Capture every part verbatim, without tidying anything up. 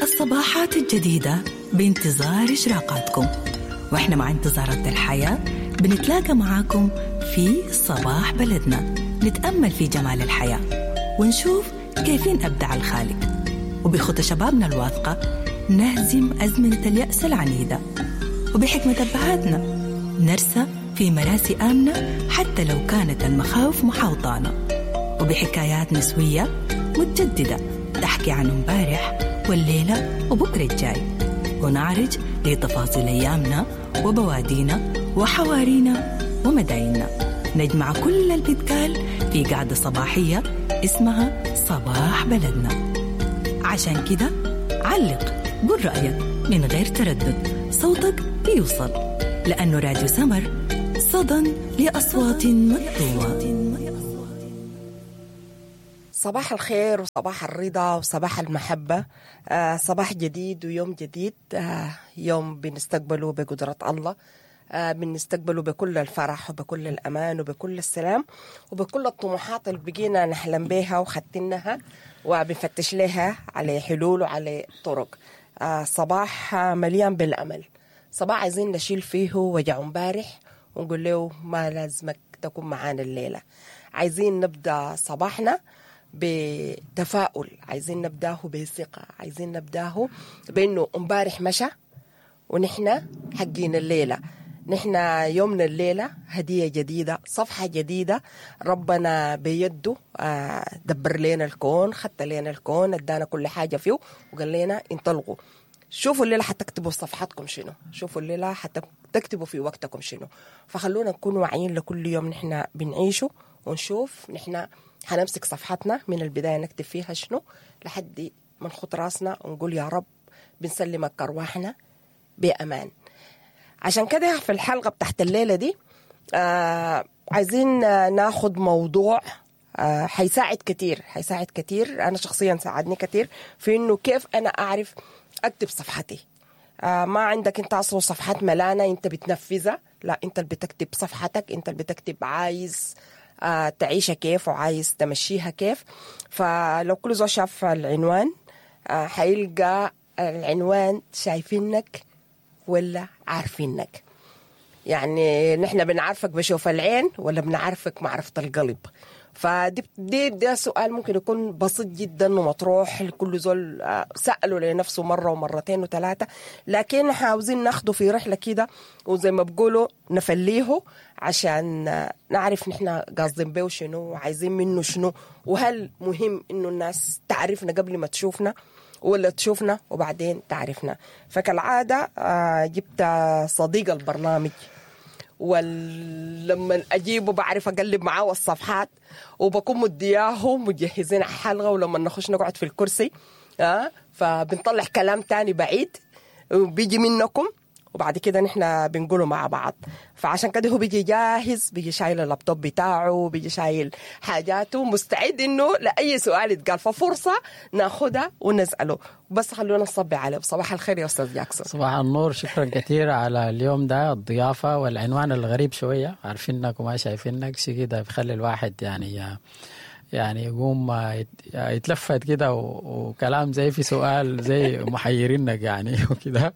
الصباحات الجديدة بانتظار إشراقاتكم، وإحنا مع انتظارات الحياة بنتلاقى معاكم في صباح بلدنا، نتأمل في جمال الحياة ونشوف كيفين أبدع الخالق، وبخطى شبابنا الواثقة نهزم أزمنة اليأس العنيدة، وبحكمة أبهاتنا نرسى في مراسي آمنة حتى لو كانت المخاوف محاوطانا، وبحكايات نسوية متجددة تحكي عن امبارح والليلة وبكرة الجاي، ونعرج لتفاصيل أيامنا وبوادينا وحوارينا ومدايننا. نجمع كل البتقال في قعدة صباحية اسمها صباح بلدنا. عشان كده علق، قول رأيك من غير تردد، صوتك بيوصل، لأنه راديو سمر صدى لأصوات مكتومة. صباح الخير وصباح الرضا وصباح المحبة. آه صباح جديد ويوم جديد، آه يوم بنستقبله بقدرة الله، آه بنستقبله بكل الفرح وبكل الأمان وبكل السلام وبكل الطموحات اللي بقينا نحلم بيها وخدتنها وبنفتش لها على حلول وعلى طرق. آه صباح مليان بالأمل، صباح عايزين نشيل فيه وجع امبارح ونقول له ما لازمك تكون معانا الليلة. عايزين نبدأ صباحنا بتفاؤل، عايزين نبداه بثقة، عايزين نبداه بأنه امبارح مشى ونحن حقين الليلة، نحن يومنا الليلة هدية جديدة، صفحة جديدة ربنا بيده دبر لنا الكون، خدت لنا الكون، ادانا كل حاجة فيه وقال لنا انطلقوا، شوفوا الليلة حتكتبوا صفحتكم شنو، شوفوا الليلة حتكتبوا في وقتكم شنو. فخلونا نكون واعيين لكل يوم نحن بنعيشه، ونشوف نحن حنمسك صفحتنا من البداية نكتب فيها شنو لحد ما نخط راسنا ونقول يا رب بنسلمك أرواحنا بأمان. عشان كده في الحلقة بتاعت الليلة دي آه عايزين ناخد موضوع آه حيساعد كتير، حيساعد كتير، أنا شخصيا ساعدني كتير في إنه كيف أنا أعرف أكتب صفحتي. آه ما عندك أنت أصلا صفحات ملانة أنت بتنفذها، لا، أنت اللي بتكتب صفحتك، أنت اللي بتكتب عايز آه تعيشها كيف وعايز تمشيها كيف. فلو كل زول شاف العنوان آه حيلقى العنوان شايفينك ولا عارفينك. يعني نحن بنعرفك بشوف العين ولا بنعرفك معرفة القلب؟ فدي دي ده سؤال ممكن يكون بسيط جدا ومطروح لكل زول سأله لنفسه مرة ومرتين وثلاثة، لكن عاوزين ناخده في رحلة كده وزي ما بقولوا نفليه عشان نعرف نحن قاصدين بيه شنو وعايزين منه شنو، وهل مهم إنه الناس تعرفنا قبل ما تشوفنا ولا تشوفنا وبعدين تعرفنا. فكالعادة جبت صديق البرنامج، ولما أجيبه بعرف أقلب معاه الصفحات وبكون مدياه مجهزين حلقة، ولما نخش نقعد في الكرسي أه فبنطلع كلام تاني بعيد بيجي منكم وبعد كده نحن بنقوله مع بعض. فعشان كده هو بيجي جاهز، بيجي شايل اللابتوب بتاعه، بيجي شايل حاجاته، مستعد انه لأي سؤال يتقال، ففرصة ناخدها ونسأله. بس خلونا نصبي عليه. صباح الخير يا أستاذ جاكسون. صباح النور، شكرا كثير على اليوم ده، الضيافة والعنوان الغريب شوية، عارفينك وما شايفينك، شيء كده بيخلي الواحد يعني يعني يقوم يتلفت كده وكلام زي في سؤال زي محيرينك يعني وكده،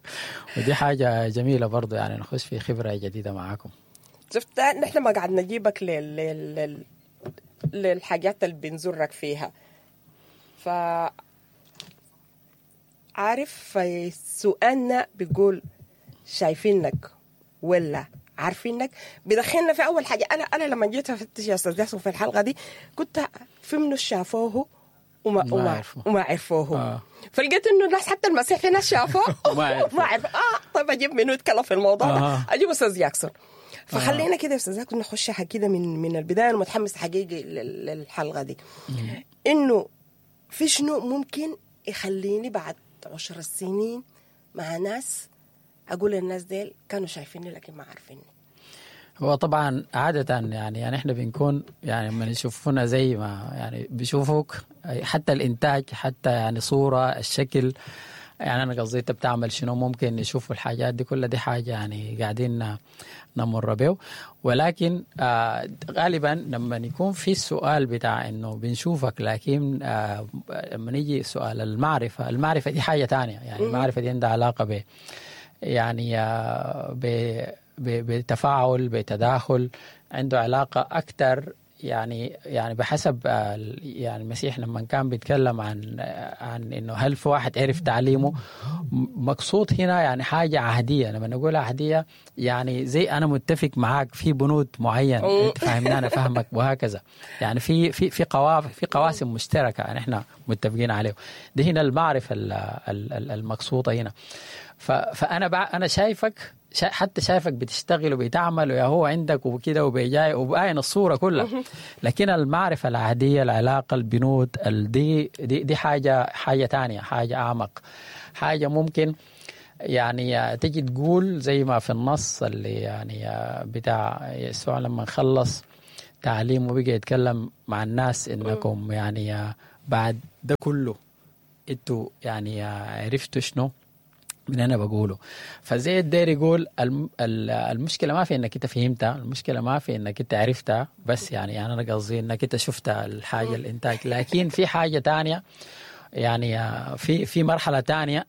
ودي حاجة جميلة برضو، يعني نخش في خبرة جديدة معاكم. شفت نحن ما قاعد نجيبك لل... لل... للحاجات اللي بنزورك فيها، ف عارف سؤالنا بيقول شايفينك ولا عارفينك؟ بدخلنا في أول حاجة. أنا أنا لما جيت أفتش يا أستاذ جاسم في الحلقة دي كنت في منو شافوه وما وما عرفوه وما عرفوه آه. فلقيت إنه الناس حتى المسيح في ناس شافوه وما عرفوه. آه طيب أجيب منو يتكلم في الموضوع ده؟ آه. أجيب أستاذ جاكسون. فخلينا آه. كده يا أستاذ جاكسون نخش كده من من البداية. أنا متحمس حقيقي للحلقة دي، إنه في شنو ممكن يخليني بعد عشر سنين مع ناس أقول الناس ديل كانوا شايفيني لكن ما عارفيني. هو طبعا عادة يعني يعني احنا بنكون يعني لما يشوفونا زي ما يعني بيشوفوك، حتى الإنتاج، حتى يعني صورة، الشكل، يعني انا قصدي انت بتعمل شنو، ممكن يشوفوا الحاجات دي كلها، دي حاجة يعني قاعدين نمر به. ولكن آه غالبا لما يكون في السؤال بتاع انه بنشوفك، لكن آه لما نيجي سؤال المعرفة، المعرفة دي حاجة تانية. يعني المعرفة دي عندها علاقة ب يعني آه ب بتفاعل، بتداخل، عنده علاقة اكثر يعني يعني بحسب يعني المسيح لما كان بيتكلم عن عن انه هل في واحد عرف تعليمه، مقصود هنا يعني حاجة عهديه. لما نقول عهديه يعني زي انا متفق معاك في بنود معين، انت فاهمني انا فاهمك، وهكذا. يعني في في في قواف في قواسم مشتركة يعني احنا متفقين عليه. دي هنا المعرفة المقصودة هنا. فانا انا شايفك، حتى شايفك بتشتغل وبتعمل ويا هو عندك وكده وبيجاي وباين الصورة كلها، لكن المعرفة العادية، العلاقة، البنود دي دي دي حاجة حاجة تانية، حاجة أعمق، حاجة ممكن يعني تجي تقول زي ما في النص اللي يعني بتاع يسوع لما خلص تعليمه بقى يتكلم مع الناس إنكم يعني بعد ده كله انتوا يعني عرفتوا شنو من أنا بقوله. فزي الدير يقول المشكلة ما في إنك أنت فهمتها، المشكلة ما في إنك أنت عرفتها، بس يعني, يعني أنا قصدي إنك أنت شفت الحاجة الإنتاج، لكن في حاجة تانية يعني في في مرحلة تانية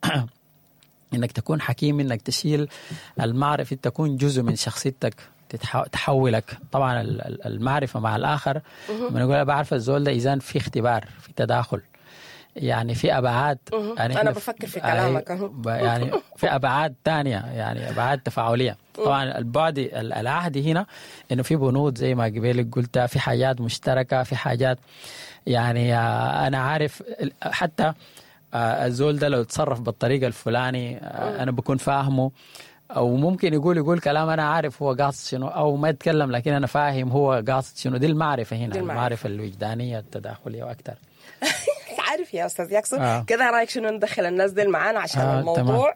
إنك تكون حكيم، إنك تشيل المعرفة، تكون جزء من شخصيتك، تحولك. طبعا المعرفة مع الآخر، من نقول بعرف الزول ده، إذا في اختبار، في تداخل، يعني في أبعاد. يعني أنا بفكر في كلامك يعني في أبعاد تانية، يعني أبعاد تفاعلية. طبعا البعد العهدي هنا إنه في بنود زي ما قبلك قلت، في حاجات مشتركة، في حاجات يعني أنا عارف حتى الزول ده لو تصرف بالطريقة الفلاني أنا بكون فاهمه، أو ممكن يقول يقول كلام أنا عارف هو قاصد شنو، أو ما يتكلم لكن أنا فاهم هو قاصد شنو. دي المعرفة هنا، المعرفة الوجدانية التداخلية وأكثر. عارف يا أستاذ ياكسون آه. كده رأيك شنو ندخل الناس دي معانا عشان آه، الموضوع؟ تمام.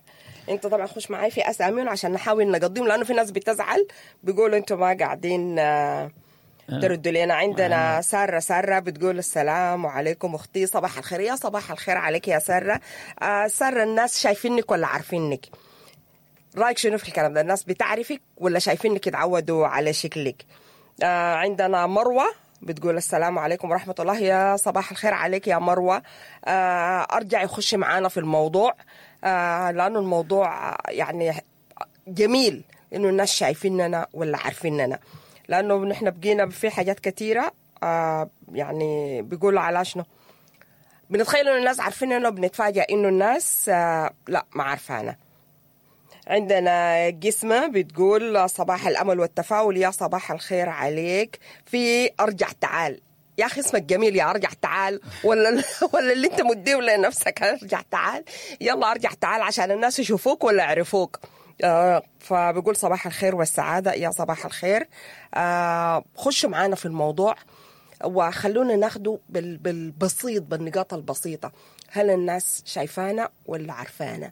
انت طبعا خش معاي في اساميهم عشان نحاول نقضيهم، لانه في ناس بتزعل بيقولوا انتوا ما قاعدين آه تردوا لنا. عندنا آه. سارة سارة بتقول السلام عليكم اختي، صباح الخير. يا صباح الخير عليك يا سارة. آه سارة، الناس شايفينك ولا عارفينك؟ رأيك شنو في الكلام ده؟ الناس بتعرفك ولا شايفينك يتعودوا على شكلك؟ آه عندنا مروة بتقول السلام عليكم ورحمة الله. يا صباح الخير عليك يا مروة. آه أرجع يخش معانا في الموضوع، آه لأنه الموضوع يعني جميل إنه الناس شايفيننا ولا عارفيننا، لأنه نحن بقينا في حاجات كثيرة آه يعني بيقولوا على شنو بنتخيل إنه الناس عارفيننا، وبنتفاجأ إنه الناس آه لا ما عارفانا. عندنا جسمة بتقول صباح الأمل والتفاؤل، يا صباح الخير عليك. في أرجع تعال، يا أخي اسمك جميل يا أرجع تعال، ولا ولا اللي أنت مديه لنفسك أرجع تعال، يلا أرجع تعال عشان الناس يشوفوك ولا يعرفوك. آه فبيقول صباح الخير والسعادة، يا صباح الخير. آه خشوا معانا في الموضوع وخلونا ناخده بالبسيط، بالنقاط البسيطة. هل الناس شايفانا ولا عارفانا؟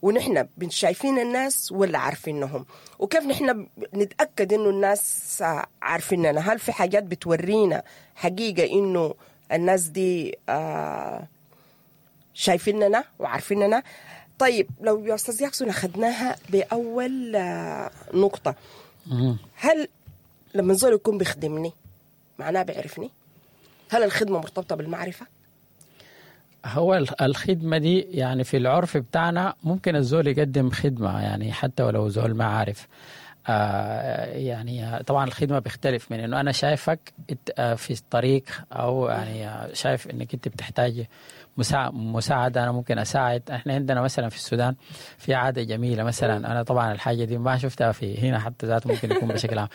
ونحن شايفين الناس ولا عارفينهم؟ وكيف نحن نتأكد إنه الناس عارفيننا؟ هل في حاجات بتورينا حقيقة إنه الناس دي آه شايفيننا وعارفيننا؟ طيب لو يا أستاذ ياكسون أخذناها بأول آه نقطة، هل لما زول يكون بيخدمني معناه بيعرفني؟ هل الخدمة مرتبطة بالمعرفة؟ هو الخدمة دي يعني في العرف بتاعنا ممكن الزول يقدم خدمة يعني حتى ولو زول ما عارف. آه يعني طبعا الخدمة بيختلف من انه انا شايفك في الطريق، او يعني شايف انك انت بتحتاج مساعدة، انا ممكن اساعد. احنا عندنا مثلا في السودان في عادة جميلة، مثلا انا طبعا الحاجة دي ما شفتها في هنا حتى ذاته، ممكن يكون بشكل عام.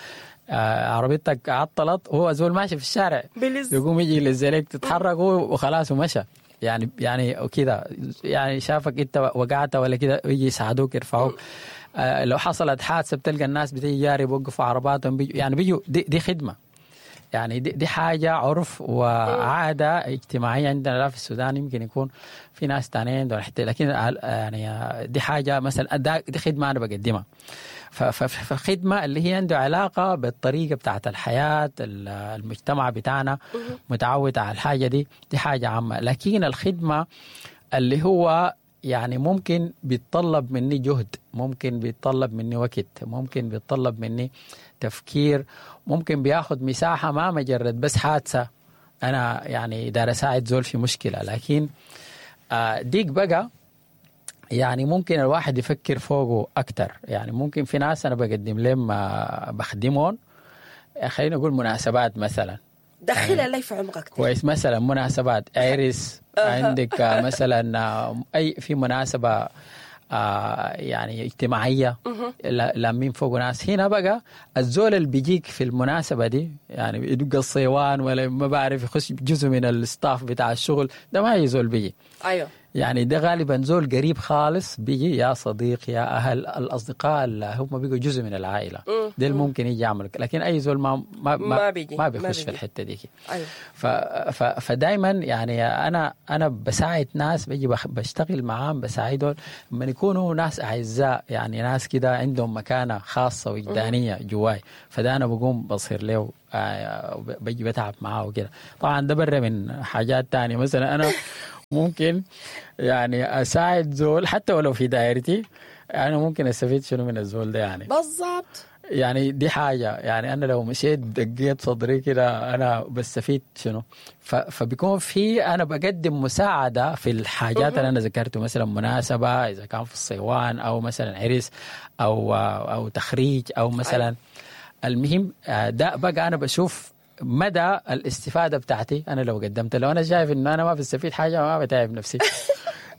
آه عربيتك عطلت، هو زول ماشي في الشارع يقوم يجي للزلك تتحرك وخلاص ومشى، يعني يعني كده، يعني شافك انت وقعت ولا كده يجي يساعدوك يرفعوك. آه لو حصلت حادثه بتلقى الناس بتيجي جاري بيوقفوا عرباتهم، بيجوا يعني بيجوا. دي, دي خدمة، يعني دي, دي حاجة عرف وعاده اجتماعية عندنا، لا في السودان يمكن يكون في ناس تانيين عندهم، لكن يعني دي حاجة مثلا دي خدمة انا بقدمها. فخدمه اللي هي عنده علاقة بالطريقة بتاعت الحياة، المجتمع بتاعنا متعود على الحاجة دي، دي حاجة عامة. لكن الخدمة اللي هو يعني ممكن بيتطلب مني جهد، ممكن بيتطلب مني وقت، ممكن بيتطلب مني تفكير، ممكن بياخد مساحة، ما مجرد بس حادثة أنا يعني دار أساعد زول في مشكلة. لكن آه ديك بقى يعني ممكن الواحد يفكر فوقه أكتر. يعني ممكن في ناس أنا بقدم لهم آه، بخدمهم، خلينا نقول مناسبات مثلا. دخلها لي في عمقك. كويس، مثلا مناسبات عرس عندك، آه، مثلا آه، اي في مناسبة آه، يعني اجتماعية لا- لامين فوق ناس. هنا بقى الزول اللي بيجيك في المناسبة دي يعني يدق الصيوان ولا ما بعرف يخش جزء من ال staff بتاع الشغل ده، ما هي زول بيجي. ايوه يعني ده غالبا زول قريب خالص بيجي، يا صديق يا اهل الاصدقاء اللي هم بيجوا جزء من العائلة، ده اللي ممكن يجي يعمل. لكن اي زول ما ما ما, ما بيجي، ما ما بيخش في بيجي. الحتة دي. ايوه ف ف فدايما يعني انا انا بساعد ناس بيجي بخ- بشتغل معاهم بساعدهم لما يكونوا ناس اعزاء، يعني ناس كده عندهم مكانه خاصة وجدانيه جواي، فده انا بقوم بصير له آه، بجي بتعب معاه وكده. طبعا ده برا من حاجات تانية، مثلا انا ممكن يعني اساعد زول حتى ولو في دائرتي، انا ممكن استفيد شنو من الزول ده يعني. بالضبط. يعني دي حاجة، يعني أنا لو مشيت دقيت صدري كده أنا بستفيد شنو؟ ف- فبيكون في أنا بقدم مساعدة في الحاجات اللي أنا ذكرته، مثلا مناسبة إذا كان في الصيوان أو مثلا عرس أو أو تخريج أو مثلا المهم آه، ده بقى أنا بشوف مدى الاستفادة بتاعتي أنا لو قدمت. لو أنا شايف إنه أنا ما بستفيد حاجة ما بتعب نفسي.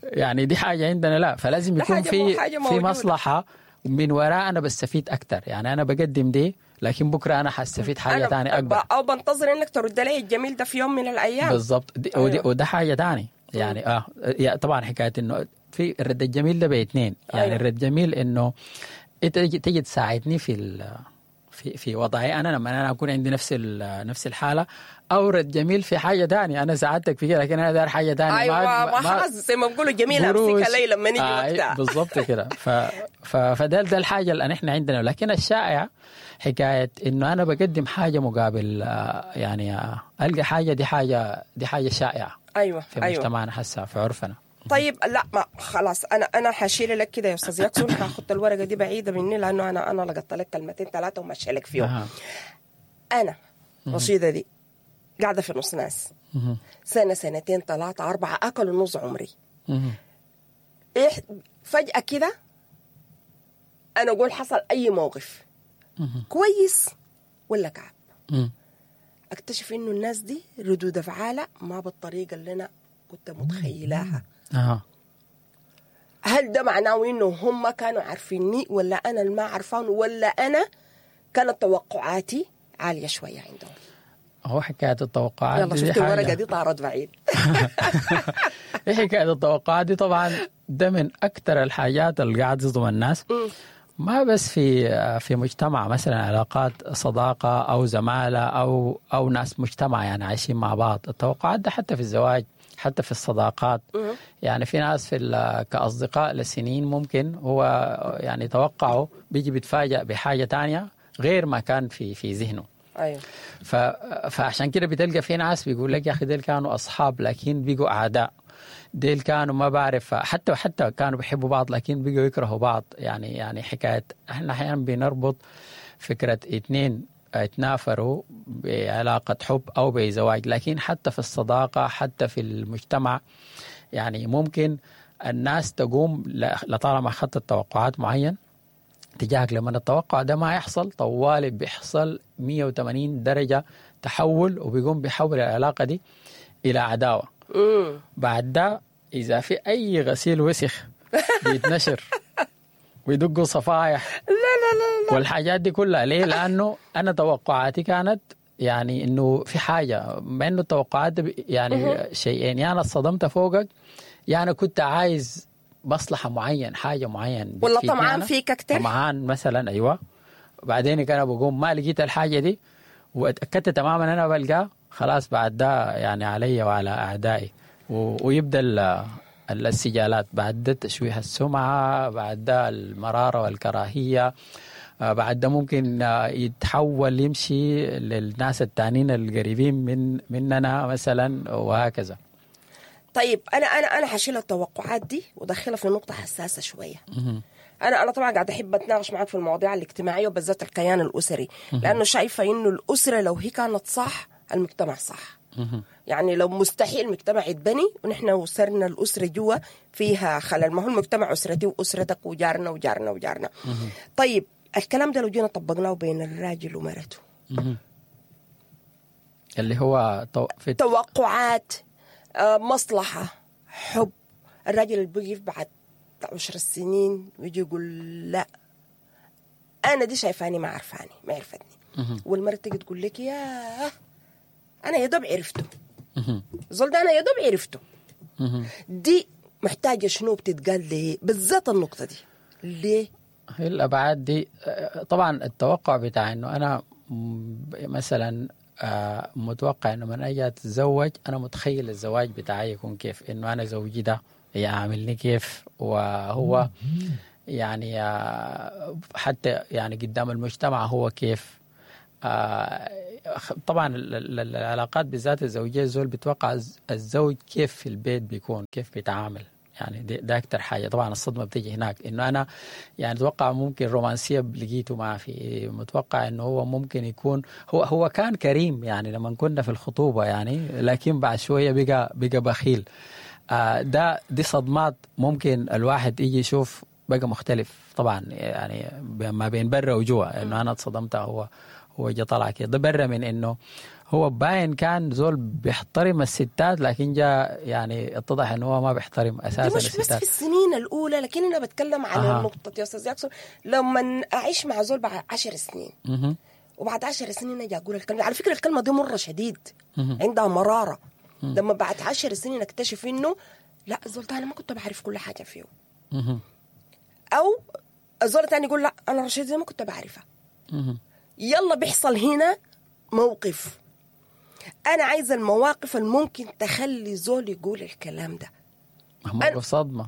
يعني دي حاجة عندنا لا، فلازم ده يكون حاجة في مو- حاجة في موجودة. مصلحة من وراء أنا بستفيد أكتر. يعني أنا بقدم دي لكن بكرة أنا حستفيد حاجة أنا تانية أكبر. ب- او بنتظر انك ترد لي الجميل ده في يوم من الايام. بالضبط. دي ودي أيوة. وده حاجة تاني يعني اه يا طبعا حكاية انه في الرد الجميل ده باثنين يعني. أيوة. الرد الجميل انه انت تجي, تجي تساعدني في ال في في وضعي انا لما انا اكون عندي نفس ال- نفس الحالة، او رد جميل في حاجة تانية انا ساعدتك في كده لكن انا داير حاجة تانية. ايوه ما خلاص زي ما بيقولوا جميلة قروش. امسكها لي لما نيجي آه وقتها. بالضبط كده. ف... ف... فده ده الحاجة اللي احنا عندنا. لكن الشائع حكاية انه انا بقدم حاجة مقابل آه، يعني آه، القى حاجة، دي حاجة دي حاجة شائعة ايوه في ايوه مجتمعنا حسا في عرفنا. طيب لا ما خلاص انا انا حشيل لك كده يا استاذ ياكسون، حاخد الورقة دي بعيدة مني لانه انا انا لقطت لك كلمتين ثلاثة وماشية لك فيهم. أها. انا رشيده دي قاعدة في نص ناس مهم. سنة سنتين ثلاثة اربعة اكلوا نص عمري. مهم. إيه فجاة كده انا اقول حصل اي موقف مهم. كويس ولا كعب، مم. اكتشف انه الناس دي ردود افعالها ما بالطريقة اللي انا كنت متخيلاها. أها. هل ده معناه انه هم كانوا عارفيني ولا انا اللي ما عارفان، ولا انا كانت توقعاتي عالية شوية عندهم؟ هو حكاية التوقعات يلا دي, دي شفت الورقة حاجة. دي طارت بعيد. إيه حكاية التوقعات دي طبعا ده من اكثر الحاجات اللي قاعد تصدم الناس، ما بس في في مجتمع مثلا علاقات صداقه او زمالة او او ناس مجتمع يعني عايشين مع بعض. التوقعات ده حتى في الزواج، حتى في الصداقات. يعني في ناس في ال- كاصدقاء لسنين ممكن هو يعني توقعه بيجي بيتفاجأ بحاجة تانية غير ما كان في في ذهنه. ايوه ف... فعشان كده بتلقى في ناس بيقول لك يا اخي ديل كانوا اصحاب لكن بقوا اعداء، ديل كانوا ما بعرف حتى حتى كانوا بيحبوا بعض لكن بقوا يكرهوا بعض. يعني يعني حكاية احنا احيانا بنربط فكرة اثنين اتنافروا بعلاقة حب او بزواج، لكن حتى في الصداقة حتى في المجتمع يعني ممكن الناس تقوم ل- لطالما اخذت توقعات معين تجاهك، لما التوقع ده ما يحصل طوالي بيحصل مية وثمانين درجة تحول، وبيقوم بيحول العلاقة دي إلى عداوة. امم بعد ده إذا في أي غسيل وسخ بيتنشر ويدقوا صفايح لا لا لا لا والحاجات دي كلها. ليه؟ لأنه أنا توقعاتي كانت يعني إنه في حاجة، مع إنه التوقعات دي يعني شيئين، يا أنا اتصدمت فوقك، يا أنا كنت عايز مصلحة معين، حاجة معين ولا بتفيدني طمعان أنا. فيك أكتر؟ طمعان مثلا، أيوة. بعدين كان بقوم ما لقيت الحاجة دي واتأكدت تماما أنا بلقاه، خلاص بعد ده يعني علي وعلى أعدائي و... ويبدأ ال... ال- السجالات بعد ده، تشويه السمعة، بعد ده المرارة والكراهية، آه، بعد ده ممكن آه، يتحول يمشي للناس التانيين القريبين من مننا مثلا وهكذا. طيب انا انا انا حشيل التوقعات دي وادخلها في نقطة حساسة شوية. انا انا طبعا قاعدة احب اتناقش معاك في المواضيع الاجتماعية وبالذات الكيان الاسري، لانه شايفه انه الاسرة لو هي كانت صح المجتمع صح. يعني لو مستحيل المجتمع يتبني ونحن وسرنا الاسرة جوا فيها خلل، ما هو المجتمع اسرتي واسرتك وجارنا وجارنا وجارنا. طيب الكلام ده لو جينا طبقناه بين الراجل ومرته، اللي هو تو... في توقعات، آه، مصلحة، حب. الراجل اللي بيقف بعد عشر سنين ويجي يقول لا أنا دي شايفاني ما عرفاني ما عرفتني، والمرة تيجي تقول لك يا أنا يا دوب عرفته، الزول ده أنا يا دوب عرفته. دي محتاجة شنو بتتقال ليه بالذات النقطة دي ليه؟ هي الأبعاد دي آه، طبعا التوقع بتاع إنه أنا م- مثلا آه، متوقع إنه من أجي أتزوج أنا متخيل الزواج بتاعي يكون كيف، إنه أنا زوجي ده يعاملني كيف، وهو يعني آه، حتى يعني قدام المجتمع هو كيف. آه، طبعا ال- ال- العلاقات بالذات الزوجية، الزول بيتوقع الز- الزوج كيف في البيت بيكون، كيف بيتعامل، يعني دي- ده اكتر حاجة. طبعا الصدمة بتيجي هناك، انه انا يعني اتوقع ممكن رومانسية لقيته ما في، متوقع انه هو ممكن يكون هو هو كان كريم يعني لما كنا في الخطوبة يعني، لكن بعد شوية بقى بقى بخيل. آه، ده دي صدمات ممكن الواحد يجي يشوف بقى مختلف طبعا، يعني ما بين برا وجوا، انه انا اتصدمت هو هو جا طلع كده، ده برا من انه هو باين كان زول بيحترم الستات، لكن جاء يعني اتضح انه هو ما بيحترم دي اساسا مش بس في الستات. السنين الأولى، لكن أنا بتكلم على أها. النقطة يا أستاذ ياكسون، لما أعيش مع زول بعد عشر سنين مهم. وبعد عشر سنين اجي اقول الكلمة، على فكرة الكلمة دي مرة شديد عندها مرارة. لما بعد عشر سنين اكتشف انه لا الزول ده انا ما كنت بعرف كل حاجة فيه، مهم. او الزول الثاني يقول لا انا رشيد زي ما كنت بعرفها. مهم. يلا بيحصل هنا موقف. انا عايزه المواقف الممكن تخلي زول يقول الكلام ده. موقف صدمة.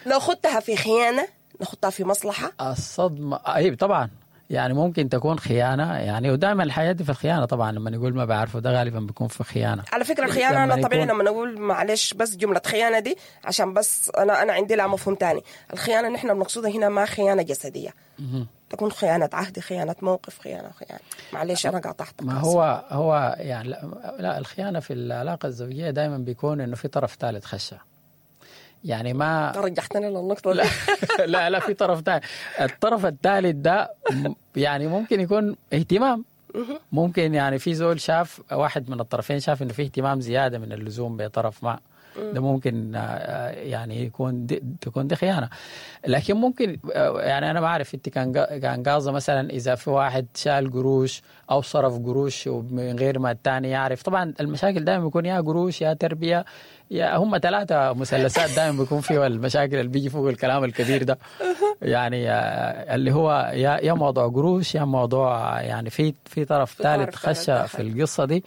ناخدها في خيانة، ناخدها في مصلحة. الصدمة اي طبعا يعني ممكن تكون خيانة يعني، ودائما الحياة دي في الخيانة طبعا، لما يقول ما بعرفه ده غالبا بيكون في خيانة. على فكرة الخيانة لما انا طبيعي يكون- لما نقول معلش بس جملة خيانة دي عشان بس انا انا عندي لها مفهوم تاني. الخيانة نحن بنقصدها هنا ما خيانة جسدية، تكون خيانة عهد، خيانة موقف، خيانة خيانة. معلش انا قاطعتك. ما هو هو يعني لا, لا الخيانة في العلاقة الزوجية دائما بيكون انه في طرف ثالث خشه، يعني ما رجعتني للنقطة دي. لا لا في طرف ثالث. الطرف الثالث ده م- يعني ممكن يكون اهتمام، ممكن يعني في زول شاف واحد من الطرفين شاف انه في اهتمام زيادة من اللزوم بطرف ما، ده ممكن آه، يعني يكون دي تكون دي خيانة. لكن ممكن آه، يعني انا ما اعرف انت كان قا- كان قاصده مثلا اذا في واحد شال قروش او صرف قروش ومن غير ما الثاني يعرف. طبعا المشاكل دائما بيكون يا قروش يا تربيه يا هم ثلاثة مثلثات دائما بيكون فيها المشاكل اللي بيجي فوق الكلام الكبير ده، يعني آه، اللي هو يا يا موضوع قروش يا موضوع يعني في في طرف في ثالث طرف ثالث خش دخل. في القصة دي،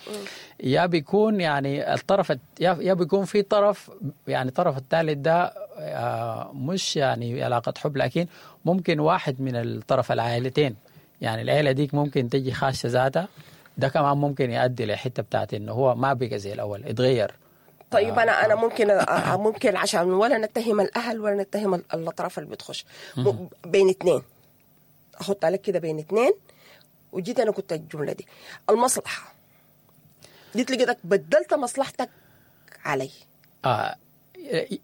يا بيكون يعني الطرف الت- يا يا بيكون في طرف يعني الطرف الثالث ده آه، مش يعني علاقة حب، لكن ممكن واحد من الطرف العائلتين، يعني العيلة ديك ممكن تجي خاشه ذاتها، ده كمان ممكن يؤدي لحته بتاعت انه هو ما بقى زي الاول، اتغير. طيب انا انا ممكن أ- ممكن عشان ولا نتهم الاهل ولا نتهم ال- الاطراف اللي بتخش م- بين اثنين، احط عليك كده بين اثنين. وجيت انا كنت الجملة دي المصلحة، جيت لقيتك بدلت مصلحتك علي. آه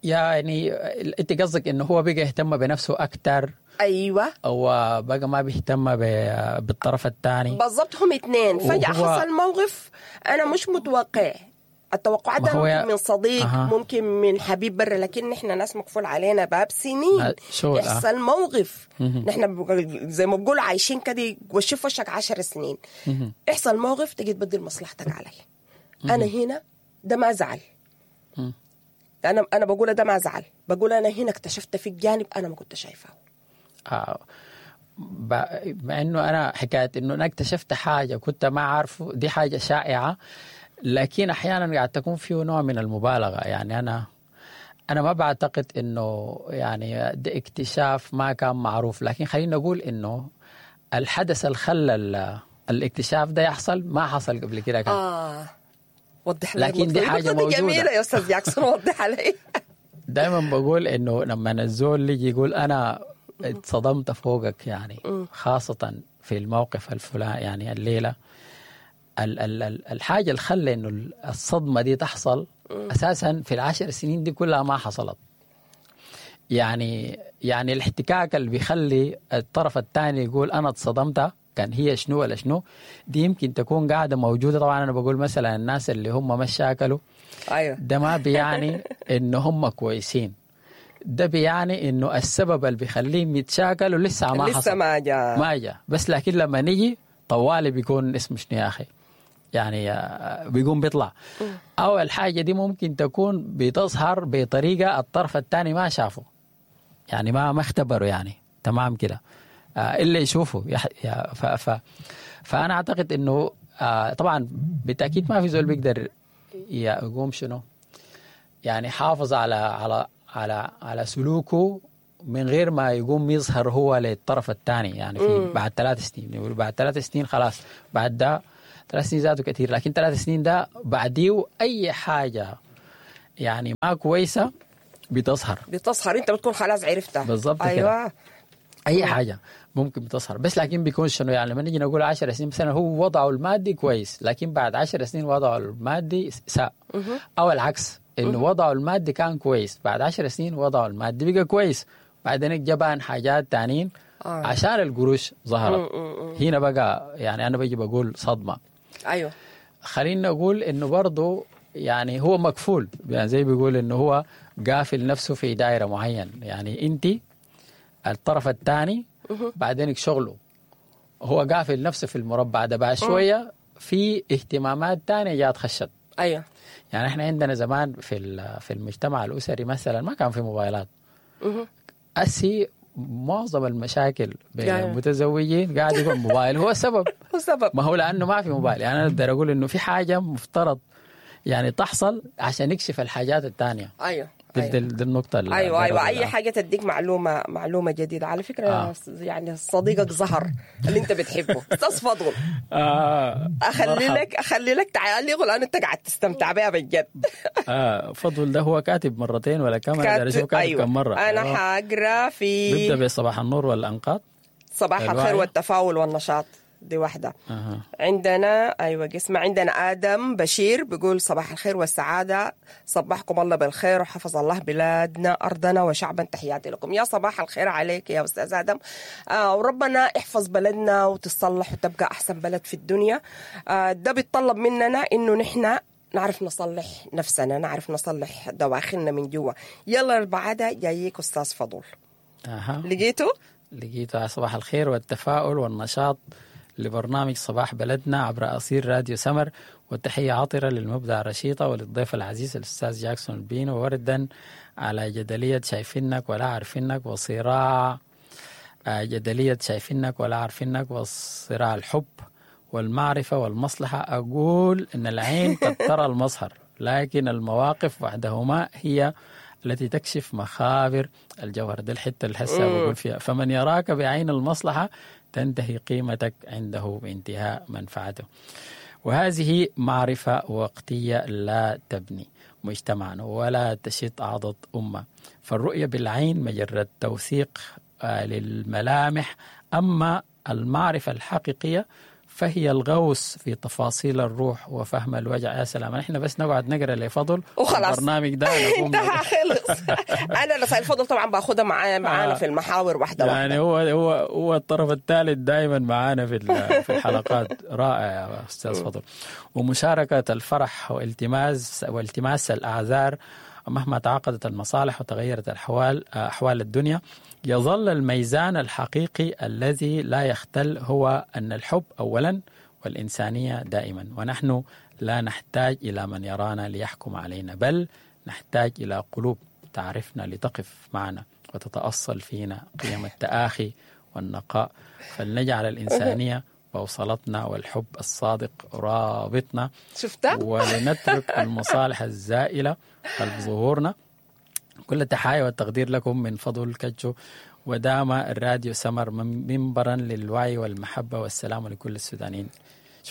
يعني انت قصدك انه هو بقى يهتم بنفسه اكثر، ايوه او بقى ما بيهتم ب- بالطرف الثاني. بالضبط، هم اثنين فجأة وهو- حصل موقف أنا مش متوقع. التوقعات ما ده هو ممكن يا- من صديق، أها. ممكن من حبيب برا، لكن نحن ناس مقفول علينا باب سنين. ما- شغل، آه. يحصل موقف نحن بق- زي ما بقول عايشين كده وشف وشك عشر سنين، يحصل موقف تجي تبدل مصلحتك علي. أنا هنا ده ما زعل، أنا أنا بقول ده ما زعل، بقول أنا هنا اكتشفت فيك جانب أنا ما كنت شايفاه. آه ب- مع انه انا حكاية انه انا اكتشفت حاجة كنت ما عارفه دي حاجة شائعة، لكن احيانا قاعد تكون فيه نوع من المبالغة. يعني انا انا ما بعتقد انه يعني ده اكتشاف ما كان معروف، لكن خلينا نقول انه الحدث اللي خلى ال- الاكتشاف ده يحصل ما حصل قبل كده كان. آه وضح لي لكن دي النقطة حاجة النقطة دي موجودة. جميلة يا استاذ جاكسون، وضحها لي. دائما بقول انه لما الزول يجي يقول انا اتصدمت فوقك، يعني خاصة في الموقف الفلاني، يعني الليلة ال ال ال الحاجة اللي خلى انه الصدمة دي تحصل اساسا في العشر سنين دي كلها ما حصلت. يعني يعني الاحتكاك اللي بيخلي الطرف الثاني يقول انا اتصدمت كان هي شنو ولا شنو، دي يمكن تكون قاعدة موجودة. طبعا انا بقول مثلا الناس اللي هم ما شاكلوا ايوه ده ما بيعني ان هم كويسين، ده بيعني انه السبب اللي بيخليهم يتشاكلوا لسه ما لسه حصل، ما جاء ما جاء. بس لكن لما نيجي طوالي بيكون اسمه شنو يا اخي، يعني آه، بيقوم بيطلع. او الحاجة دي ممكن تكون بتظهر بطريقة الطرف الثاني ما شافه، يعني ما ما اختبره، يعني تمام كده، آه، الا يشوفه يح- يا- ف ف فانا اعتقد انه آه، طبعا بالتاكيد ما في زول بيقدر يقوم شنو يعني حافظ على على على على سلوكه من غير ما يقوم يظهر هو للطرف الثاني. يعني في بعد ثلاث سنين، يقول بعد ثلاث سنين خلاص، بعد ده ثلاث سنين ذاته كثير، لكن ثلاث سنين ده بعديه اي حاجة يعني ما كويسة بتظهر. بتظهر، انت بتكون خلاص عرفتها بالضبط كده. ايوه اي حاجة ممكن بتظهر، بس لكن بيكون شنو يعني لما نيجي نقول عشر سنين مثلا هو وضعه المادي كويس، لكن بعد عشر سنين وضعه المادي ساء، او العكس انه وضعه المادي كان كويس، بعد عشر سنين وضعه المادي بقى كويس، بعدين جبان حاجات تانيين آه. عشان القروش ظهرت. هنا بقى يعني انا بجي بقول صدمة. ايوه خلينا نقول انه برضه يعني هو مكفول، يعني زي بيقول انه هو قافل نفسه في دائرة معين، يعني انت الطرف الثاني بعدين شغله هو قافل نفسه في المربع ده، بعد شوية في اهتمامات ثانية جات خشت. ايوه يعني احنا عندنا زمان في ال- في المجتمع الاسري مثلا ما كان في موبايلات. اسي معظم المشاكل بين أيوة. المتزوجين قاعد يكون موبايل هو السبب. هو سبب. ما هو لانه ما في موبايل. يعني انا اقدر اقول انه في حاجة مفترض يعني تحصل عشان يكشف الحاجات الثانية. ايوه دي, أيوة. دي, دي النقطة اللي ايوه ايوه أقدر اي أقولها. حاجة تديك معلومة معلومة جديدة على فكرة. آه. يعني صديقك ظهر اللي انت بتحبه استاذ فضل، آه اخلي مرحب. لك اخلي لك تعليق لانه انت قاعد تستمتع بها بجد. آه فضل ده هو كاتب مرتين ولا كم؟ انا داير اشوف كاتب أيوة. كم مرة. انا أيوة. حاقرا في بيبدا بصباح النور والانقاض. صباح الخير الوعي. والتفاؤل والنشاط، دي واحدة. أها. عندنا أيوة قسمة، عندنا آدم بشير بيقول صباح الخير والسعادة، صباحكم الله بالخير وحفظ الله بلادنا أرضنا وشعبا، تحياتي لكم. يا صباح الخير عليك يا أستاذ آدم، آه وربنا يحفظ بلدنا وتصلح وتبقى أحسن بلد في الدنيا. آه ده بيتطلب مننا إنه نحن نعرف نصلح نفسنا، نعرف نصلح دواخلنا من جوا. يلا بعدها جايك أستاذ فضل. أها. لقيته؟ لقيته. صباح الخير والتفاؤل والنشاط لبرنامج صباح بلدنا عبر أصير راديو سمر، والتحية عطرة للمبدع رشيطة وللضيف العزيز الأستاذ جاكسون البينو، وردا على جدلية شايفينك ولا عارفينك وصراع آه، جدلية شايفينك ولا عارفينك وصراع الحب والمعرفة والمصلحة. أقول إن العين قد ترى المظهر، لكن المواقف وحدهما هي التي تكشف مخابر الجوهر. دي الحتة اللي هسه بقول فيها، فمن يراك بعين المصلحة تنتهي قيمتك عنده بانتهاء منفعته. وهذه معرفة وقتية لا تبني مجتمعا ولا تشط عضد أمة، فالرؤية بالعين مجرد توثيق آه، للملامح، أما المعرفة الحقيقية فهي الغوص في تفاصيل الروح وفهم الوجع. يا سلام، احنا بس نقعد نقرا لفضل وخلاص. البرنامج ده نقوم انتهى خلص. انا رسائل الفضل طبعا باخدها معايا معانا آه. في المحاور واحدة واحدة. يعني هو هو هو الطرف الثالث دائما معانا في ال- في الحلقات. رائع يا استاذ فضل. ومشاركة الفرح والتماس والتماس الاعذار مهما تعاقدت المصالح وتغيرت الاحوال احوال الدنيا، يظل الميزان الحقيقي الذي لا يختل هو ان الحب اولا والانسانية دائما، ونحن لا نحتاج الى من يرانا ليحكم علينا، بل نحتاج الى قلوب تعرفنا لتقف معنا وتتأصل فينا قيم التآخي والنقاء. فلنجعل الإنسانية بوصلتنا والحب الصادق رابطنا، شفتها؟ ولنترك المصالح الزائلة خلف ظهورنا. كل التحايا والتقدير لكم من فضل كجو، ودام الراديو سمر منبرا للوعي والمحبة والسلام لكل السودانيين.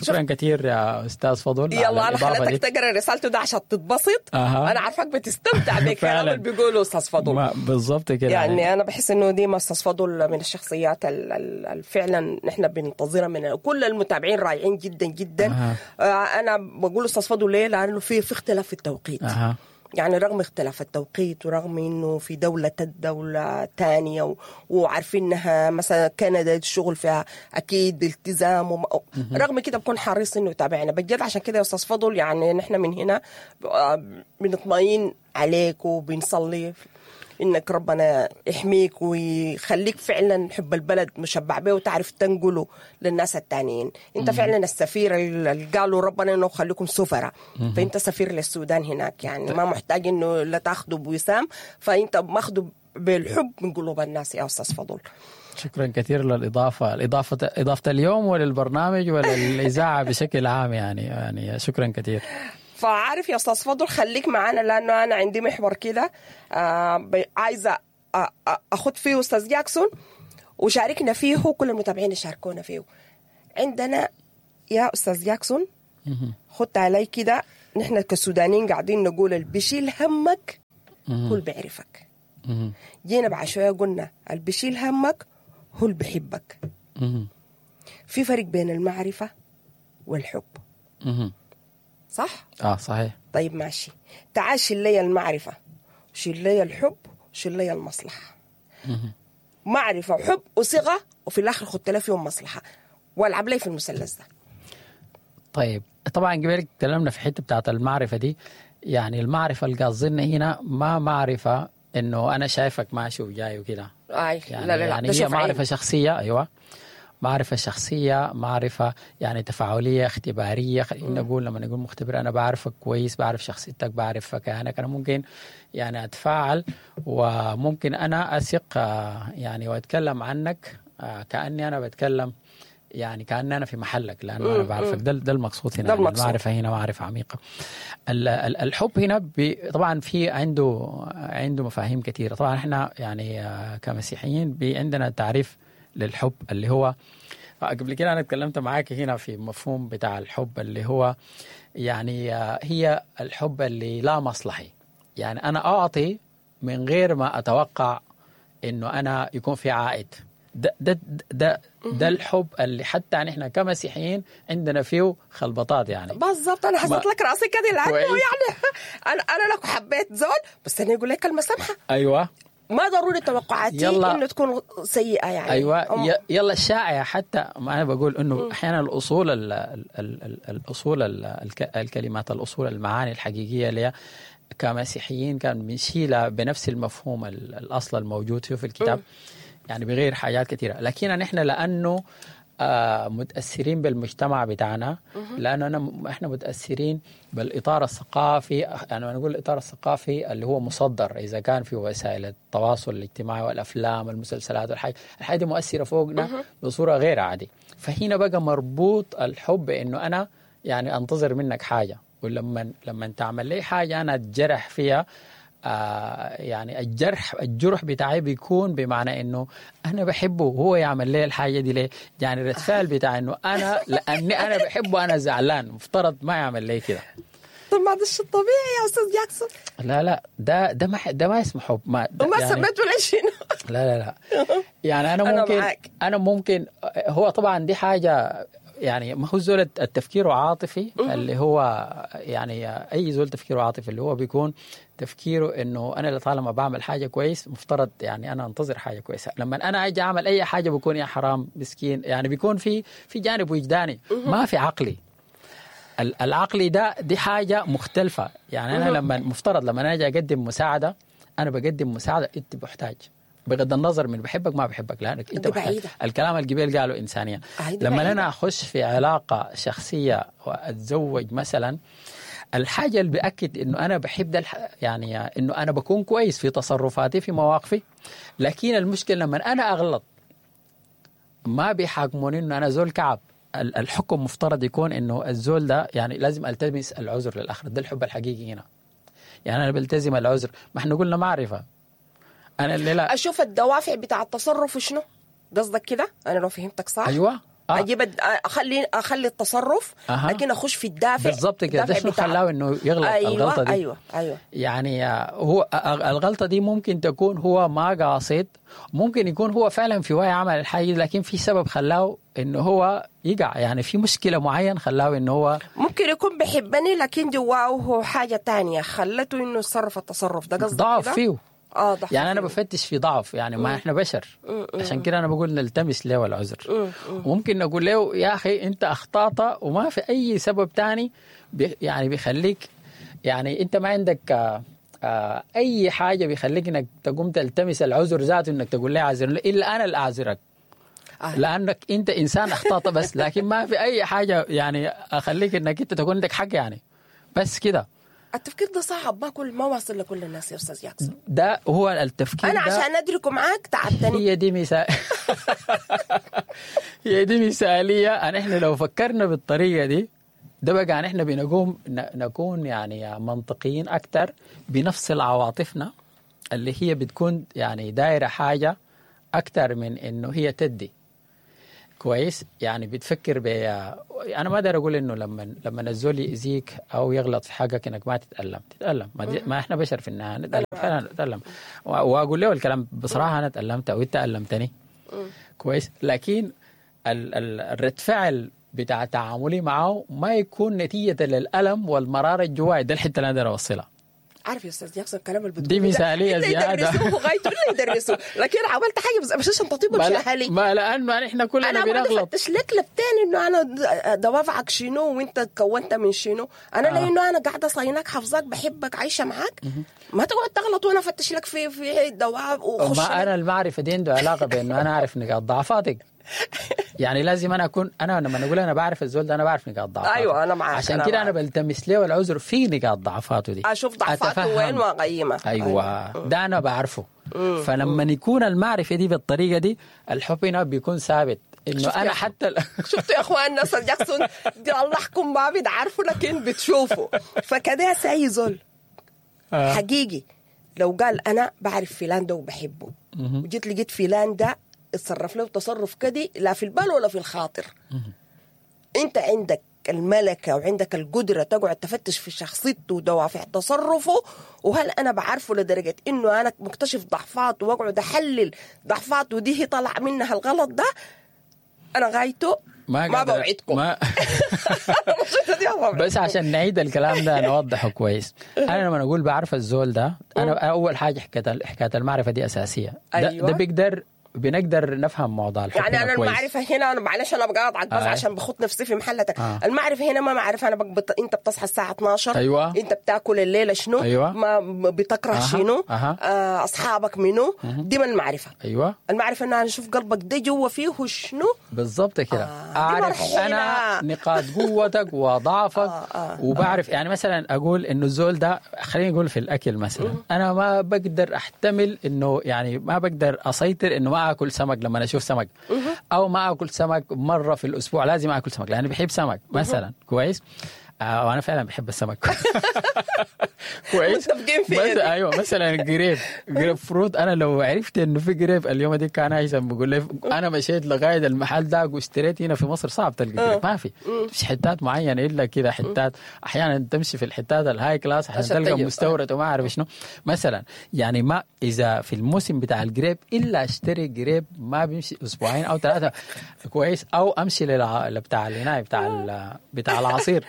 شكرا كثير يا استاذ فضل. يلا انا خليتك تقرا رسالته ده عشان تتبسط. أه. انا عارفك بتستمتع بالكلام اللي بيقوله استاذ فضل. بالضبط كده يعني, يعني انا بحس انه ديما استاذ فضل من الشخصيات اللي فعلا نحن بننتظرها من كل المتابعين، رائعين جدا جدا. أه. آه انا بقول استاذ فضل ليه؟ لانه في في اختلاف في التوقيت. أه. يعني رغم اختلاف التوقيت ورغم انه في دولة دولة تانية وعارفين انها مثلا كندا الشغل فيها اكيد التزام وم... رغم كده بكون حريص انه يتابعنا بجد. عشان كده يا استاذ فضل يعني نحن من هنا بنطمئن عليك وبنصلي انك ربنا يحميك ويخليك فعلا حب البلد مشبع به وتعرف تنقله للناس التانيين. انت فعلا السفير اللي قالوا ربنا انه خليكم سفراء، فانت سفير للسودان هناك، يعني ما محتاج انه لا تاخده بوسام، فانت ماخده بالحب من قلوب الناس يا استاذ فضل. شكرا كثير للإضافة، الإضافة إضافة اليوم وللبرنامج وللإذاعة بشكل عام، يعني يعني شكرا كثير. فعارف يا استاذ فضل خليك معانا لانه انا عندي محور كده آه عايزه اخد فيه استاذ جاكسون وشاركنا فيه وكل المتابعين يشاركونا فيه. عندنا يا استاذ جاكسون خد علي كده، نحن كسودانيين قاعدين نقول اللي بيشيل همك هو اللي بيعرفك. جينا بعد شوية قلنا اللي بيشيل همك هو اللي بيحبك. في فرق بين المعرفة والحب. صح؟ اه صحيح. طيب ماشي، تعال شيل لي المعرفة، شيل لي الحب، شيل لي المصلحة. معرفة وحب وصيغة، وفي الآخر خدت لي فيهم مصلحة والعب لي في المثلث ده. طيب طبعا قبل تكلمنا في حتة بتاعت المعرفة دي، يعني المعرفة اللي قصدنا هنا ما معرفة إنه أنا شايفك ماشي وجاي وكده. أي يعني لا لا لا، يعني هي معرفة شخصية. أيوة معرفة شخصية، معرفة يعني تفاعلية اختبارية. خلينا نقول لما نقول مختبر أنا بعرفك كويس، بعرف شخصيتك، بعرف كيانك، أنا ممكن يعني أتفاعل وممكن أنا أثق يعني وأتكلم عنك كأني أنا بتكلم يعني كأني أنا في محلك لأنه أنا بعرفك. ده ده المقصود هنا. ده المقصود. المعرفة هنا معرفة عميقة. الحب هنا طبعا في عنده عنده مفاهيم كثيرة. طبعا احنا يعني كمسيحيين عندنا تعريف للحب اللي هو قبل كده أنا اتكلمت معاك هنا في مفهوم بتاع الحب اللي هو يعني هي الحب اللي لا مصلحي، يعني أنا أعطي من غير ما أتوقع إنه أنا يكون في عائد. ده ده ده ده الحب اللي حتى نحن كمسيحيين عندنا فيه خلبطات يعني. بالضبط، انا حسيت لك راسي كده لانه يعني انا انا لو حبيت زول بس انا يقول لك كلمة سمحه. ايوه ما ضروري توقعاتي انه تكون سيئه يعني. ايوه يلا الشائع حتى ما انا بقول انه احيانا الاصول ال ال ال الاصول ال الكلمات، الاصول المعاني الحقيقية اللي كمسيحيين كان بنشيلها بنفس المفهوم الاصل الموجود فيه في الكتاب، يعني بغير حاجات كثيرة. لكن نحن لانه آه متاثرين بالمجتمع بتاعنا، لانه أنا احنا متاثرين بالاطار الثقافي. يعني نقول الاطار الثقافي اللي هو مصدر اذا كان في وسائل التواصل الاجتماعي والافلام والمسلسلات والحاجات، الحاجة دي مؤثرة فوقنا بصورة غير عادية. فهنا بقى مربوط الحب انه انا يعني انتظر منك حاجة، ولما لما تعمل لي حاجة انا اتجرح فيها، آه يعني الجرح الجرح بتاعي بيكون بمعنى انه انا بحبه وهو يعمل لي الحاجة دي ليه؟ يعني الرسال بتاع انه انا لاني انا بحبه انا زعلان، مفترض ما يعمل لي كده. طب ما ده الشيء الطبيعي يا استاذ جاكسون. لا لا ده ده ما ده ما اسمه حب. ما ما يعني سميته ليش؟ لا لا لا يعني انا ممكن أنا, انا ممكن هو طبعا دي حاجة يعني ما هو زول التفكير عاطفي اللي هو يعني اي زول تفكيره عاطفي اللي هو بيكون تفكيره انه انا طالما بعمل حاجة كويس مفترض يعني انا انتظر حاجة كويسة. لما انا اجي اعمل اي حاجة بكون يا حرام مسكين، يعني بيكون في في جانب وجداني ما في عقلي. العقلي ده دي حاجة مختلفة. يعني انا لما مفترض لما انا اجي اقدم مساعدة انا بقدم مساعدة انت بحتاج، بغض النظر من بحبك ما بحبك، لانك انت بحتاج. الكلام القبيل قاله انسانيا. لما انا اخش في علاقة شخصية واتزوج مثلا، الحاجة اللي باكد انه انا بحب ده يعني انه انا بكون كويس في تصرفاتي في مواقفي. لكن المشكلة لما انا اغلط ما بيحاكموني انه انا زول كعب. الحكم مفترض يكون انه الزول ده يعني لازم التمس العذر للاخر. ده الحب الحقيقي هنا. يعني انا بلتزم العذر. ما احنا قلنا معرفة. انا اللي لا اشوف الدوافع بتاع التصرف شنو قصدك كده؟ انا لو فهمتك صح. ايوه آه. اجيب اخلي اخلي التصرف أها. لكن اخش في الدافع. بالضبط كده. ده شنو خلاه انه يغلط؟ أيوة الغلطة دي. ايوه ايوه يعني هو الغلطة دي ممكن تكون هو ما قاصد، ممكن يكون هو فعلا في وعي عمل الحاجة، لكن في سبب خلاه انه هو يقع، يعني في مشكلة معين خلاه انه هو ممكن يكون بحبني لكن جواه حاجة تانية خلته انه يتصرف التصرف ده. قصدك ضعف فيه. آه ضعف يعني أنا بفتش في ضعف، يعني ما إحنا بشر، عشان كده أنا بقول نلتمس له العذر. وممكن نقول له يا أخي أنت أخطأت وما في أي سبب تاني بي يعني بيخليك، يعني أنت ما عندك آه آه أي حاجة بيخليك إنك تقوم تلتمس العذر ذاته، إنك تقول لي عذر إلا أنا اللي أعذرك آه. لأنك أنت إنسان أخطأت بس، لكن ما في أي حاجة يعني أخليك إنك أنت تكون عندك حق يعني، بس كده. التفكير ده صعب، ما كل ما واصل لكل الناس يا استاذ جاكسون. ده هو التفكير. انا عشان ادركه معاك تعبتني. هي دي مثال هي دي مثاليه. انا احنا لو فكرنا بالطريقة دي ده بقى احنا بنقوم نكون يعني منطقيين اكثر، بنفصل عواطفنا اللي هي بتكون يعني دايرة حاجة اكثر من انه هي تدي. كويس، يعني بتفكر ب انا ما اقدر اقول انه لما لما الزول يأذيك او يغلط في حقك انك ما تتألم، تتألم، ما, دي... ما احنا بشر في النهاية نتألم، فعلا نتألم. واقول له الكلام بصراحة، انا تألمت او انت ألمتني. كويس، لكن ال... ال... الرد فعل بتاع تعاملي معه ما يكون نتيجة للألم والمراره الجواي. ده الحتة اللي انا اقدر اوصلها. عارف يا استاذ جاكسون الكلام اللي بتقوله دي مثاليه زيادة، يدرسوه غايته ولا يدرسوه، لكن عملت حاجة بس عشان تطيب مش اهلي. ما لانه احنا كلنا أنا بنغلط. انا بفتش لك لبتين انه انا دوافعك شنو وانت كونت من شنو. انا آه. لانه انا قاعدة صايناك حافظاك بحبك عايشه معاك، ما تقعد تغلط وانا افتش لك في في دوافع وخش. ما انا المعرفة دي عنده علاقة بانه انا اعرف نقاط ضعفاتك. يعني لازم انا اكون انا لما اقول انا بعرف الزول ده انا بعرف نقاط ضعفاته. ايوه انا معاك. عشان كده انا بلتمس له العذر في نقاط ضعفاته دي، اشوف ضعفاته وين واقيمها. ايوه, أيوة. ده انا بعرفه. فلما يكون المعرفة دي بالطريقة دي الحب هنا بيكون ثابت انه انا حتى ال... شفتوا يا اخواننا استاذ جاكسون دي الله ما بتعرفوا لكن بتشوفوا. فكده ساي زول آه. حقيقي لو قال انا بعرف فلان ده وبحبه، وجيت لقيت فلان ده اتصرف له تصرف كدي لا في البال ولا في الخاطر، انت عندك الملكة وعندك القدرة تقعد تفتش في شخصيته ودوافع تصرفه، وهل أنا بعرفه لدرجة إنه أنا مكتشف ضعفاته وأقعد أحلل ضعفاته ودي هي طلع منها الغلط ده، أنا غايته ما, ما بوعدكم ما بس عشان نعيد الكلام ده نوضحه كويس. انا لما اقول بعرف الزول ده، انا اول حاجة حكاية حكاية المعرفة دي اساسية. ده, أيوة. ده بيقدر بنقدر نفهم موضوع الحب يعني انا كويس. المعرفة هنا انا معلش انا بقاطعك بس آه. عشان بخط نفسي في محلتك. آه. المعرفة هنا ما معرفة انا بقبط... انت بتصحى الساعة اتناشر، ايوه، انت بتاكل الليلة شنو، ايوه، ما بتكره أه. شنو، أه. آه، اصحابك منو، أه. دي ما المعرفة. ايوه، المعرفة ان انا اشوف قلبك ده جوا فيه شنو بالضبط كده. آه. اعرف انا نقاط قوتك وضعفك. آه. آه. وبعرف يعني مثلا اقول انه الزول ده، خليني اقول في الاكل مثلا، انا ما بقدر احتمل انه يعني ما بقدر اسيطر انه ما اكل سمك لما اشوف سمك، او ما اكل سمك مرة في الاسبوع، لازم اكل سمك لاني بحب سمك مثلا. كويس، آه وانا فعلا بحب السمك. كويس، متفقين في ايوه مثلا جريب جريب فروت، انا لو عرفت انه في جريب اليوم دي كان هيثم بيقول لي انا مشيت لغاية المحل ده واشتريت. هنا في مصر صعب تلقى جريب، ما في مش حتات معينة الا كده حتات، احيانا تمشي في الحتات ال high class عشان تلقى مستورد وما اعرف شنو مثلا. يعني ما اذا في الموسم بتاع الجريب الا اشتري جريب ما بيمشي اسبوعين او ثلاثة. كويس، او امشي للع... بتاع الهناي بتاع بتاع العصير.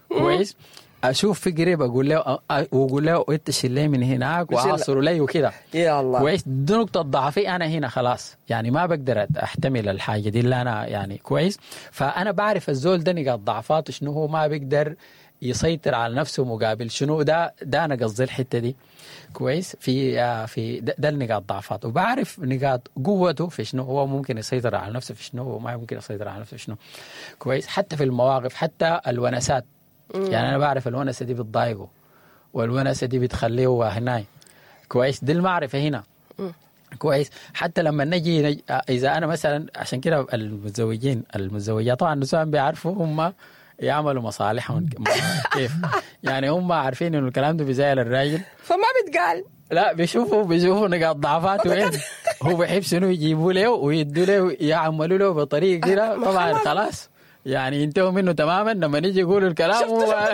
كويس، اشوف في قريب اقول له واقول له انت شيل من هناك واعصره لي وكده. يا الله. كويس، دي نقطة ضعفي انا هنا خلاص، يعني ما بقدر احتمل الحاجة دي اللي انا يعني. كويس، فانا بعرف الزول ده نقاط ضعفاته شنو، هو ما بيقدر يسيطر على نفسه مقابل شنو، ده ده انا قصدي الحتة دي. كويس، في آه في ده, ده النقاط ضعفاته، وبعرف نقاط قوته في شنو، هو ممكن يسيطر على نفسه في شنو وما ممكن يسيطر على نفسه في شنو. كويس، حتى في المواقف، حتى الونسات. يعني انا بعرف الونسه دي بتضايقه والونسه دي بتخليه هناي. كويس، دي المعرفة هنا. كويس، حتى لما نجي نج... اذا انا مثلا، عشان كده المتزوجين المتزوجات طبعا النسوان بيعرفوا هم يعملوا مصالحهم كيف، يعني هم عارفين انه الكلام ده بيزعل الراجل فما بتقال، لا بيشوفوا بيشوفوا نقاط ضعفاته وين. هو بيحب شنو يجيبوا له ويدوا له يعملوا له بطريقة كده ما طبعا خلاص. خلاص يعني ينتهوا منه تماما لما نيجي يقولوا الكلام هو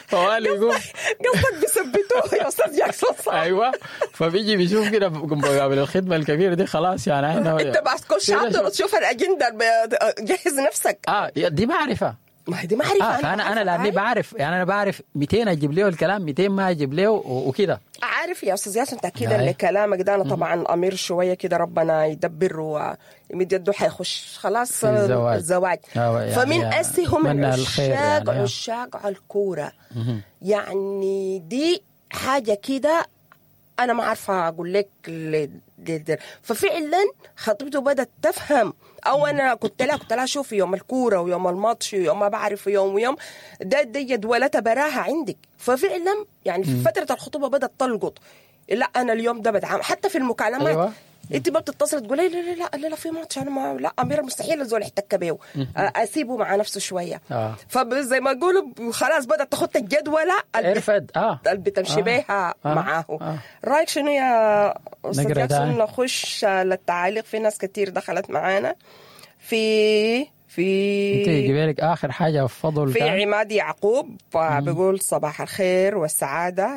فوالي يقوم قصدك بيثبتوه يا استاذ جاكسون صح؟ ايوه فبيجي بيشوف كده مقابل الخدمة الكبيرة دي خلاص يعني احنا انت بس تكون شاطر وتشوف الاجندة ب- جهز نفسك. اه دي معرفة. ما هي دي معرفة. اه فانا انا لاني بعرف يعني انا بعرف ميتين اجيب له الكلام، ميتين ما اجيب له و- وكده. عارف يا استاذ ياسر، تاكيدا أي. لكلامك ده، انا طبعا امير شوية كده ربنا يدبر ويمد يده حيخش خلاص في الزواج. الزواج. آه، يعني فمن اسي هم أتمنى الخير عشاق يعني. عشاق على الكورة. يعني دي حاجة كده انا ما عارفه اقول لك ل- ل- ففعلا خطيبته بدات تفهم. او انا كنت لها كنت لها شوفي يوم الكورة ويوم الماتش ويوم ما بعرف يوم ويوم ده دي جدولتها براها عندك. ففعلا يعني في فترة الخطوبة بدات تلقط، لا انا اليوم ده بتعامل حتى في المكالمات. أيوة. انت ما بتتصل تقولي لا لا لا لا, لا في ماتش انا ما لا امير مستحيل الزول يحتك بيه، اسيبه مع نفسه شوية. آه. فزي ما يقولوا خلاص بدات تخط الجدوله اللي عرفت اه اللي بتمشي آه. بيها آه. معاه. آه. رايك شنو يا استاذ نقرأ جاكسون؟ تاني. نخش للتعاليق، في ناس كتير دخلت معانا في في انت جبالك اخر حاجة فضل في كان عماد يعقوب بيقول صباح الخير والسعادة.